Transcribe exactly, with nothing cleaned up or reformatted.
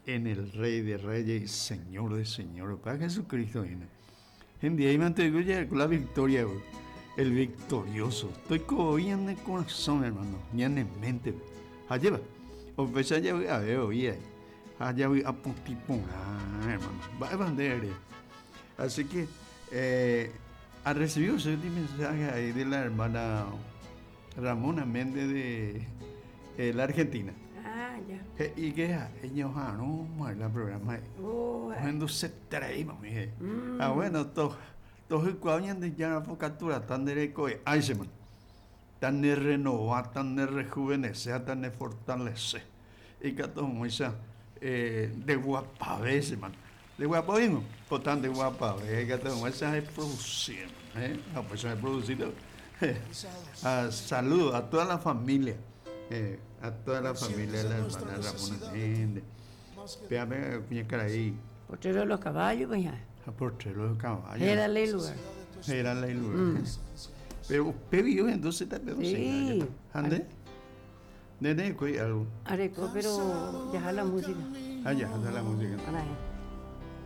En el Rey de Reyes y Señor de Señores. Para Jesucristo viene. En día y la victoria, el victorioso. Estoy con el corazón, hermano, ni en mente. Allá o pesa ya a ver, oye, allá voy a hermano. Va a bandera. Así que eh, ha recibido ese mensaje ahí de la hermana Ramona Méndez de eh, la Argentina. Ah, ya. Y que ellos no, el programa. Oh, se trae, mami. Mm. Ah, bueno, todo todo el cuadro de ya captura tan de ay se man. Tan de renovar, tan de rejuvenecer, tan de fortalecer. Y que todo mucha eh, de guapavese, man. De guapo pues tan de guapave, que todo mucha es producir, ¿eh? Ah, pues es producido. Ah, saludo a toda la familia, eh, a toda la familia de la hermana Ramona Méndez. Véame, cuña ahí. Potrero de los caballos, pues ya. A potrero de los caballos. Era la lugar. Era la lugar. Mm. Pero usted vio entonces también. Sí. ¿Ande? Nene, algo. Areco, pero ya la música. Ah, ya, la música.